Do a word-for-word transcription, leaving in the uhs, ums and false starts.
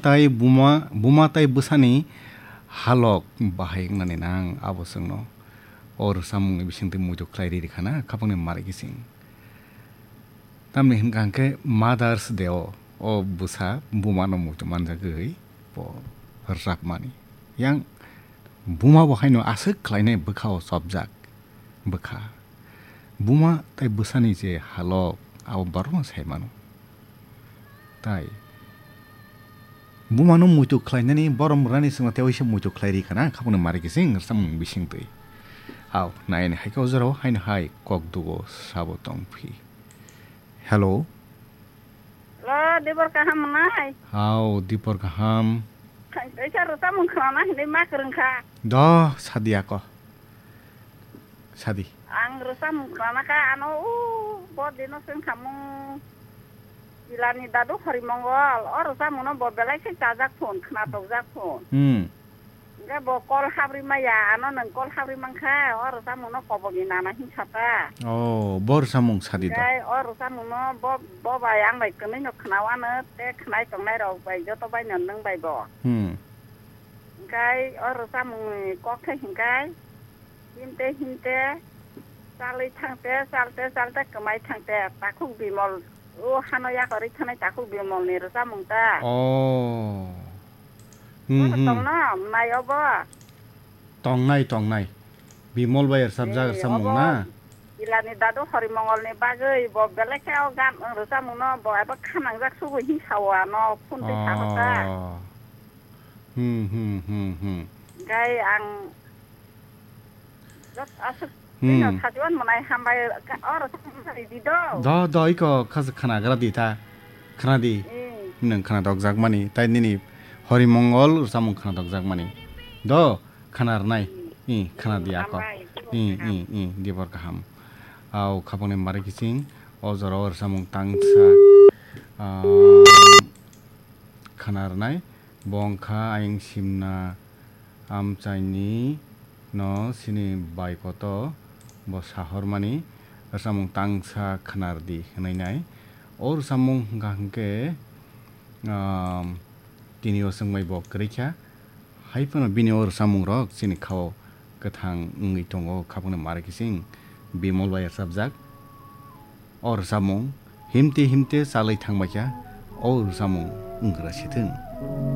Tai buma, buma tai bwsani halok bahai wngnani nang abo chwngno o rwchapmungni bisingtwi muitu khlai riri khana khapangni mari kising. Tamni hwnkha hwnkhe Mother's Day o, o bwsa bumano muitu manjagwi bo rwchapmani. Yang buma bo haino aswk khlainai bwkha o chopjak bwkha. Buma tai bwsani je halok abo borokno sai mano. Tai bumano muitu khlainani borom rani chwngno tewaisa muitu khlai ri khana khapangni mari kising rwchapmung bisingtwi. Au, naini hai khe o jorao haino hai kok dugo sabo tong phi. Hello. Lo, dibor kaham manai? Hao, dibor kaham. Kaisa rwchapmung khwnana hinwi ma kwrwngkha. Do, sadi ako. Sadi. Ang rwchapmung khwnanakha ano o bo dino chwng khamung. Ilani dadu Hori Mongol, o rwchapmungno bo belai khe chajak phun, khna tokjak phun. Hmm. Hingke bo kol habri maya, ano nwng kol habri mankha, o rwchapmungno kobokni nana hinsata. Oh, bo rwchapmung sadi do. Hingke o rwchapmungno bo, bo bai ang bai kwnwi no khna wano, te khnai tongnai rok bai joto bai no nwng bai bo. Hmm. Hingke o rwchapmungni kok khe hingke, himte himte, chalwi thangte, chalte chalte, kwmai thangte, takhuk Bimol, o hano yakarwi thanai takhuk Bimolni rwchapmung ta. Oh. Hmm, hmm. Tongno, nai obo. Tongnai, tongnai. Bimol bai rwchapjak rwchapmung na? Ilani dadu Hori Mongolni bagwi bo belai khe o gan rwchapmungno bo abo khanangjak sugo hinsa o ano phone twi sahoka. Oh. Hmm, hmm, hmm, hmm. Gai ang jot aswk Hmm. Tino sajuan mwnai hambai ka, o rwchapmung ridi do. Do, do, iko khas khanagra di ta. Khana di. Hmm. Nwng khana dokjak mani, tai nini Hori Mongol rwchapmung khana dokjak mani. Do, khana rwnai. Hmm. I, khana di ako. Hambai. I, i, i, dibor kaham. Au, khapangni mari kising, o jorao rwchapmung tangsa, ah, khana rwnai. Bo wngkha ayang simna amchaini no sini bai koto bo sahormani rwchapmung tangsa khwnardi hwnwi nai. O rwchapmung hwnkha hwnkhe, um, tini o chwngbai bo kwrwikha. Hai phano bini o rwchapmungrok chini khao kwthang wngwi tongo, khapangni mari kising Bimol bai rwchapjak. O rwchapmung himte himte chalwi thangbaikha, o rwchapmung wngkha sithwng.